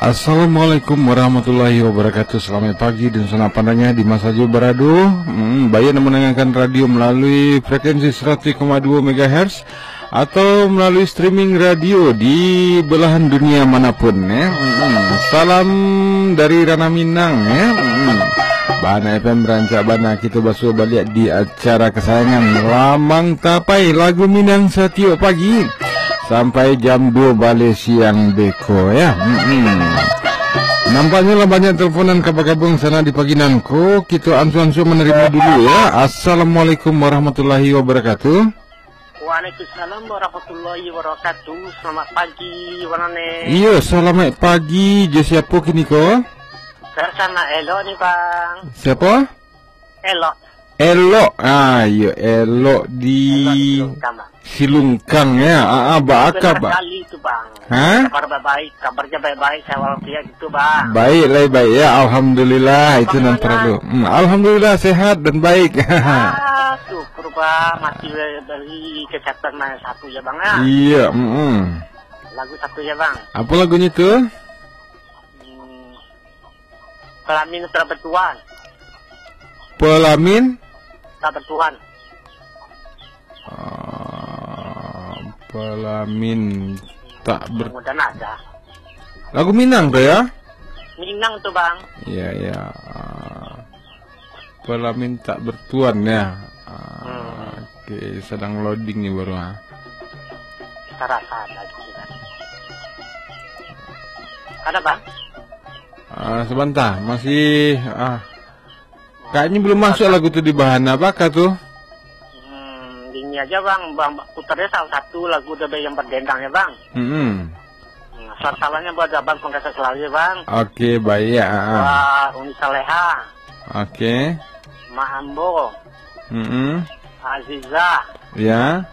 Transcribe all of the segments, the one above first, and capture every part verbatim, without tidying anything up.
Assalamualaikum warahmatullahi wabarakatuh. Salamaik pagi dunsanak pandanga di ma sajo barado. Hmm, baiak nan mandangakan radio malalui frekuensi saratus koma duo megahertz atau malalui streaming radio di belahan dunia manapun, ya. Hmm, salam dari Ranah Minang, ya. Hmm. Bana F M rancak bana kito basuo baliak di acara kasayangan Lamang Tapai, lagu Minang satiok pagi sampai jam duo baleh siang beko, ya. Mm-mm. Nampaknyo lah banyak teleponan ka bagabuang sanak di pagi nan ko. Kito ansua-ansua manarimo dulu, ya. Assalamualaikum warahmatullahi wabarakatuh. Waalaikumsalam warahmatullahi wabarakatuh. Selamat pagi, Bang Nane. Iyo, salamaik pagi. Jo siapo kini ko? Bersama Elok ni, Bang. Siapo? Elok. Elok. Ah, iyo, Elok di Elok di Silungkang, Bang. Silungkang, ya. Ah, ah, ba Benar aka, ba- kali tu, Bang. Ha? Kabar baik-baik, kabarnya baik-baik, saya walafiat gitu, Bang. Baik lah, baik, ya. Alhamdulillah, itu Bang, nan gimana? Perlu. Hmm, alhamdulillah, sehat dan baik. Ah, syukur, Bang. Masih beri kesehatan yang satu ya, Bang, ya. Iya, mm-mm. Lagu satu ya, Bang. Apa lagunya tu? Hmm, Pelamin tak bertuan. Pelamin? Tak bertuan. Ah, pelamin tak ber- Mudah-mudahan ada. Lagu Minang tu, ya? Minang tu, Bang. Iya, iya. Ah, pelamin tak bertuan, ya. Ah, hmm. Oke, sedang loading ni baru, ah. Kita rasa ada gitu, kan. Ada, Bang? Ah, sebentar, masih, ah, kayaknya belum masuk lagu tu di Bahana. Apakah tu? Hmm, ini aja, Bang. Bang, putarnya salah satu lagu The Band yang berdendang ya, Bang. Mm-mm. Hmm, salam-salamnya buat Abang, semoga sehat selalu ya, Bang. Oke, baik ya, ah, ah. Wah, Uni Saleha. Oke. Mak Ambo. Mm-mm. Aziza. Ya.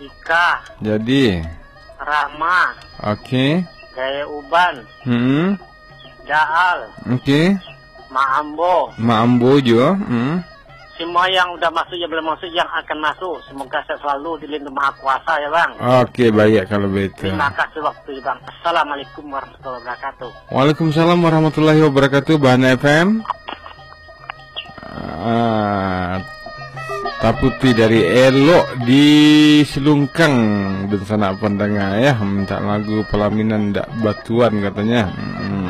Ika. Jadi. Rama. Oke. Gaya Uban. Mm-mm. Daal. Oke. Mak Ambo. Mak Ambo juo. Hmm. Semua yang udah masuk, yang belum masuk, yang akan masuk, semoga sehat selalu, dilindungi Maha Kuasa ya, Bang. Oke, baik kalau begitu. Terima kasih waktu, Bang. Assalamualaikum warahmatullahi wabarakatuh. Waalaikumsalam warahmatullahi wabarakatuh, Bahana F M. Ah, Taputi dari Elok di Silungkang, dunsanak pandanga ya, minta lagu Pelaminan Dak Batuan katanya. Hmm.